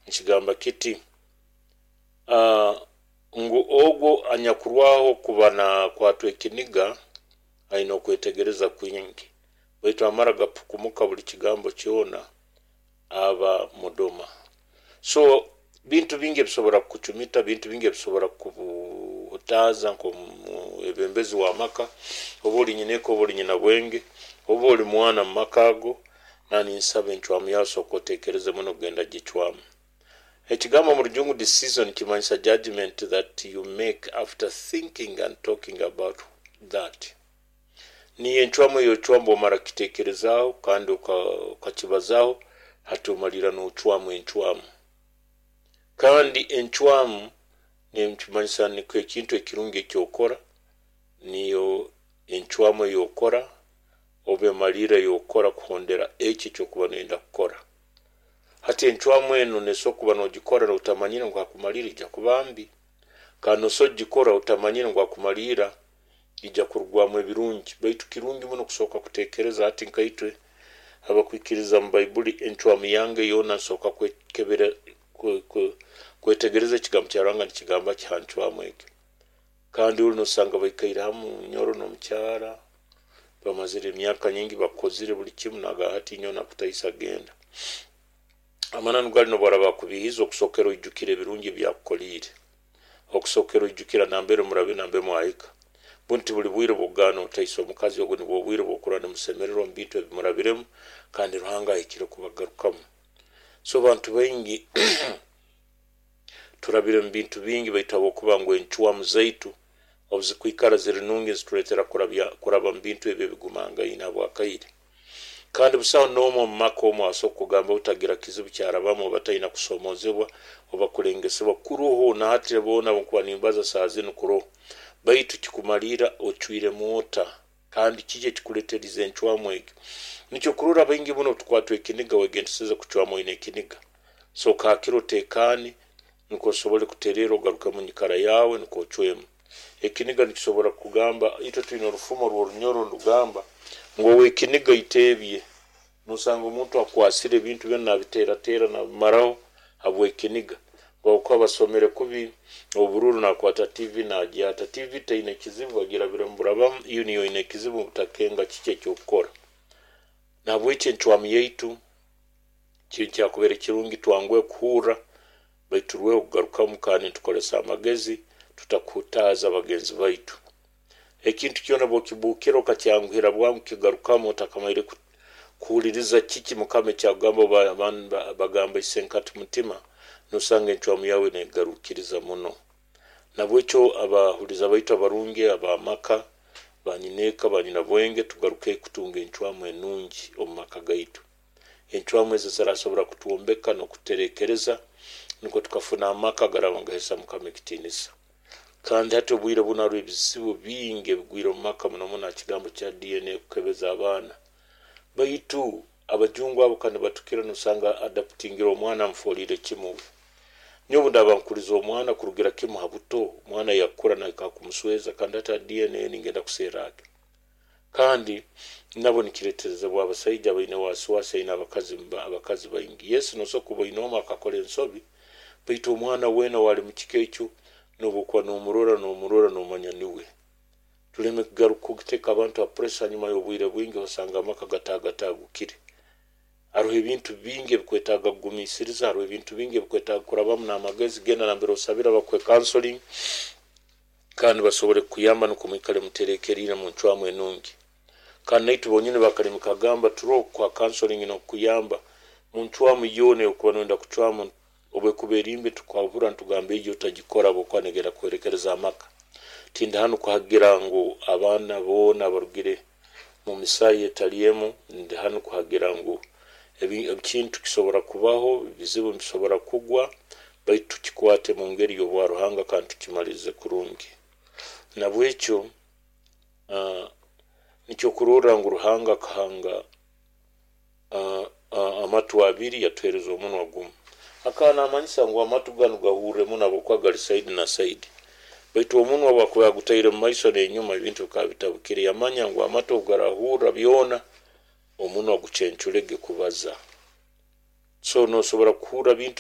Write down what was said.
Nikigamba kiti ngu ogwo anyakurwaho kuba nakwatwa ekiniga aine okwetegereza kwingi, baitu amara gapukumuka buli kigambo kyona aba mudoma. So bintu bingi ebisobora kukucumita, bintu bingi ebisobora kukuhutaaza nkomwebembezi wamaka, oba oli nyineeka oba oli nyinabwenge, oba oli mwana mumaka ago, naninsaba enchwamu yawe soka otekereze muno kugenda gichwamu. Ekigambo mu Rujungu "decision" kimanyisa judgment that you make after thinking and talking about that. Niyo enchwamu eyochwamu bwomara kukitekerezaaho kandi okakibazaho, hati omalira nochwamu enchwamu. Kandi enchwamu nikimanyisa nikyo ekintu ekirungi ekyokora, niyo enchwamu eyokora oba emalira eyokora kuhondera ekyo ekyokuba noyenda kukora. Hati enchwamu enu nesobora kuba nogikora otamanyire ngu hakumalira ija kuba mbi, kandi nosobora kugikora otamanyire ngu hakumalira ija kurugwamu ebirungi. Baitu kirungi muno kusoka kutekereza. Hati nkaitwe abakwikiriza mu Baibuli, enchwamu yange yoona nsoka kwekebera, kwetegereza ekigambo kya Ruhanga nikigamba ki ha nchwamu egyo. Kandi oli nosanga baikaire hamu nyoro n'omukyara, bamazire emyaka nyingi, bakozire buli kimu, naga hati nyowe nakutaisa, genda. Amananu gali, nobwaraba akubihiza, okusokera oijukira ebirungi ebyakukoliire, okusokera oijukira nambere murabe, nambere mwahika. Bunti buli bwire bwokugana otaisa omukazi ogwo, nibwo obwire bwokurora nimusemererwa mu bintu ebimurabiremu, kandi Ruhanga ahikire kubagarukamu. So bantu baingi turabire mu bintu bingi, baitu habwokuba ngu enchwamu zaitu obuzikwikara ziri nungi, nzituletera kuraba mu bintu ebyo ebigumangaine habwakaire. Kandi busaho n'omu omu maka omu asobora kugamba utagira kizibu kyarabamu oba taina kusomozebwa oba kulengesebwa. Kuroho na hati boona nkuba nimbaza saaha zinu kuroho, baitu kikumalira ocwiremu ota, kandi kiki ekikuleterize enchwamu egyo. Nikyo kurora baingi muno tukwatwa ekiniga. Wegendeseze kuchwamu oine ekiniga. Soka hakiro otekane, nukwo osobole kuterera, ogaruke munyikara yawe, nukwo ochwemu. Ekiniga nikisobora kugamba, itwe twine orufumo rw'Orunyoro nirugamba ngu owekiniga iteebye. Nosanga omuntu akwasire ebintu byona nabiteratera nabimaraho habwekiniga. Habwokuba basomere kubi obururu, nakwata TV nagyata. TV taine kizibu, bagirabiremu burabamu, iyo niyo oine ekizibu utakenga kiki ekyokukora. Nahabweki enchwamu yaitu kyakubere kirungi twanguhe kuhurra, baitu turweho kugarukamu kandi nitukozesa amagezi, tutakuhutaaza bagenzi baitu. Ekintu kyona bwokibukira okakyanguhira bwangu kigarukamu otakamaire kuhuliriza kiki Mukama ekyakugamba oba bagamba isenkati mutima, nosanga enchwamu yawe negarukiriza muno. Nabwekyo abahuliza baitu abarungi, abamaka, banyineeka, banyinabwenge, tugaruke kutunga enchwamu enungi omu maka gaitu. Enchwamu ezo zirasobora kutwombeka n'okuterekereza, nukwo tukafuna amaka garaba nigahesa Mukama ekitiinisa. Kandi hati obwire bunu haroho ebizibu bingi ebigwire omu maka, muno muno ha kigambo kya DNA, kukebeza abaana. Baitu abajungu abo kandi batukira, nosanga adoptingire omwana, amufolire kimu. Nyowe obundaba nkuliza omwana kurugira kimu ha buto, omwana yakura nahika kumusweza, kandi hati ha DNA ningenda kuserra ki? Kandi nabo nikireterezebwa abasaija baine wasiwasi, aine abakazi baingi. Yes, nosobora kuba oine omu akakora ensobi, baitu omwana weena wali mu kika ekyo, nobwokuba nomurora, nomurora nomanya niwe. Tuleme kugaruka kuteka abantu ha pressure. Hanyuma y'obwire bwingi osanga amaka gatagatagukire. Haroho ebintu bingi ebikwetaaga kugumiisiriza, haroho ebintu bingi ebikwetaaga kurabamu n'amagezi. Genda nambere osabira bakuhe counseling, kandi basobole kukuyamba, nukwo mwikale muterekeriire mu ncwamu enungi. Kandi naitwe bonyini bakalimi kagamba turoho kukuha counseling n'okukuyamba mu ncwamu yoona eyokuba noyenda kucwamu. Obwekuba eri mbi, tukwahura nitugamba egyo otagikora habwokuba negenda kuhwerekereza amaka. Tindi hanu kuhagira ngu abaana boona barugire mu misaayi etali emu. Ndi hanu kuhagira ngu ekintu kisobora kubaho, ebizibu nibisobora kugwa, baitu tukikwate mu ngeri y'obwa Ruhanga kandi tukimalirize kurungi. Nabwekyo nikyo kurorra ngu Ruhanga akahanga amatu abiri, yatuhereza omunwa gumu. Akaba namanyisa ngu amatu ganu gahurre muno habwokuba gali side na side, baitu omunwa bwakuba yagutaire mu maiso n'enyuma, ebintu bikaba bitabukire. Yamanya ngu amatu obu garahurra byona, omunwa gucenculege kubaza. So nosobora kuhurra bintu.